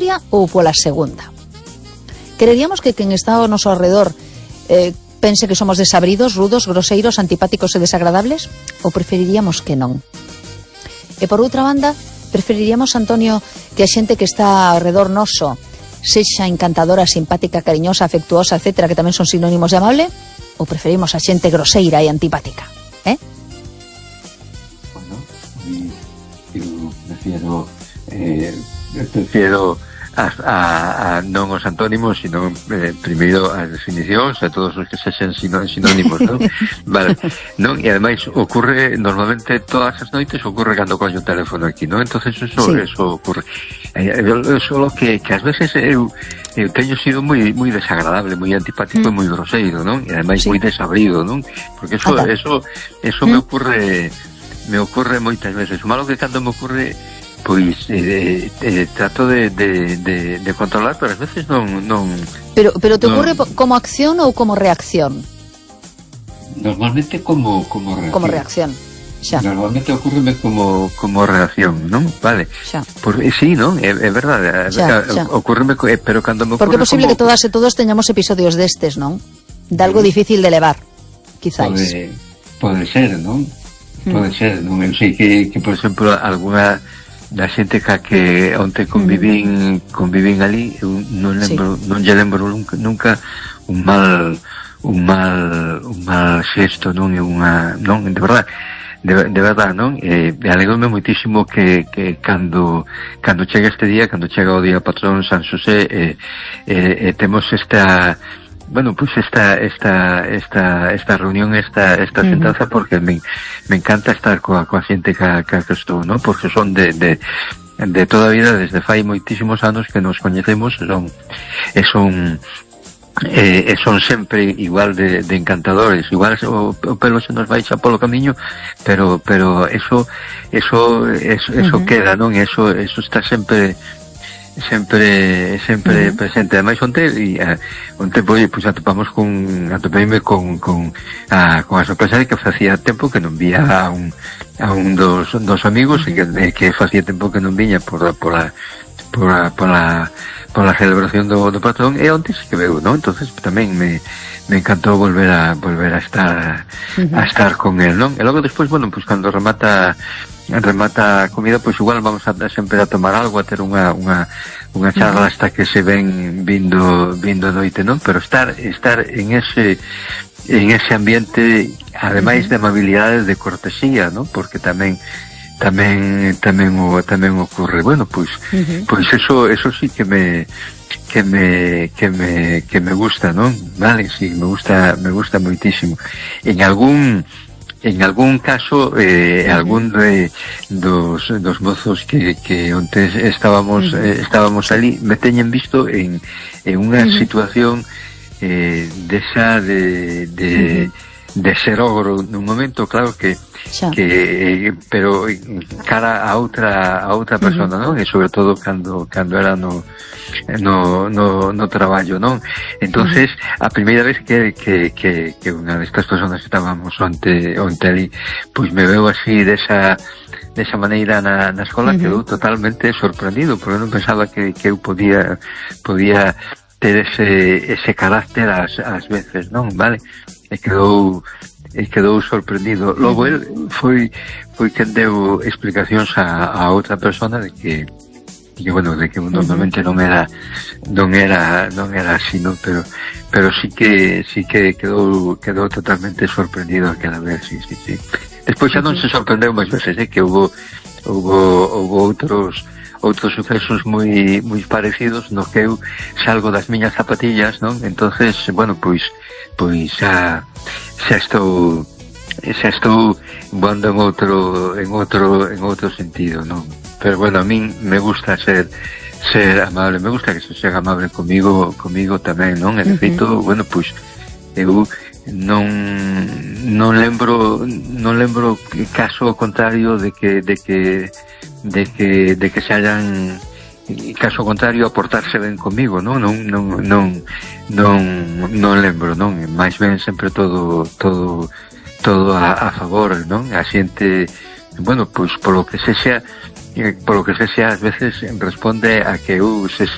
primeira ou pola segunda? Quereríamos que quen está ao noso alrededor pense que somos desabridos, rudos, groseiros, antipáticos e desagradables? Ou preferiríamos que non? E por outra banda, preferiríamos, Antonio, que a xente que está ao redor noso sexa encantadora, simpática, cariñosa, afectuosa, etcétera, que tamén son sinónimos de amable? Ou preferimos a xente groseira e antipática? Bueno, eu prefiero a non os antónimos, sino primeiro as definicións, a todos os que sexen sinónimos, non? Vale, non? E ademais ocorre, normalmente todas as noites ocorre cando coño o teléfono aquí, non? Entonces eso ocorre. Solo que ás veces eu teño sido moi desagradable, moi antipático e moi groseiro, non? E ademais moi desabrido, non? Porque eso me ocorre moitas veces. O malo que cando me ocorre, pois trato de controlar, pero ás veces non. Pero te ocorre como acción ou como reacción? Normalmente como reacción. Como reacción. Xa. Normalmente ocurreme como reacción, non? Vale. Xa. Sí, non? É verdade. Ocurreme, pero cando me ocurre... Porque é posible que todas e todos teñamos episodios destes, non? De algo difícil de levar, quizáis. Pode ser, non? Pode ser, non? Eu sei que por exemplo, alguna da xente que onte convivín ali, eu non lle lembro nunca un mal xesto, non? Non, de verdade, non? Alegrome moitísimo que cando chega este día, cando chega o día patrón San Xosé, temos esta reunión, esta sentanza, porque me encanta estar coa xente que estou, non? Porque son de toda a vida, desde fai moitísimos anos que nos coñecemos, son sempre igual de encantadores. Igual o pelo se nos vai xa polo camiño, pero eso queda, non? Eso está sempre presente. Ademais onte atopeime con a sorpresa de que facía tempo que non vía a un dos amigos, e que facía tempo que non viña por la celebración do patrón, e onte que veu, non? Entonces tamén me encantou volver a estar con él, non? E logo despois, bueno, pues cando remata a comida, pois igual vamos sempre a tomar algo, a ter unha charla hasta que se ven vindo noite, non? Pero estar en ese ambiente, ademais de amabilidade, de cortesía, non? Porque tamén ocorre. Bueno, pois eso sí que me gusta, non? Vale, sí, me gusta moitísimo. En algún caso, algún dos mozos que onte estábamos ali, me teñen visto en unha situación desa de ser ogro nun momento, claro que pero cara a outra persona, non? E sobre todo cando era no traballo, non? Entonces, a primeira vez que unha destas personas estábamos onte ali, pois me veo así desa maneira na escola, quedou totalmente sorprendido, porque non pensaba que eu podía ter ese carácter ás veces, non? Vale? E quedou sorprendido. Logo el foi quen deu explicacións a outra persona de que normalmente non era así, non? Pero sí que quedou totalmente sorprendido aquela vez, sí. Despois xa non se sorprendeu máis veces, que houbo outros sucesos moi parecidos no que eu salgo das miñas zapatillas, non? Entonces, bueno, pois xa estou voando en outro sentido, non? Pero bueno, a min me gusta ser amable, me gusta que se sea amable comigo tamén, non? E de feito, bueno, pois eu non lembro caso contrario de que se hayan, caso contrario, a portarse ben comigo, non lembro, non? Mais ben sempre todo a favor, non? A xente, bueno, pois polo que sexa ás veces responde a que eu sexa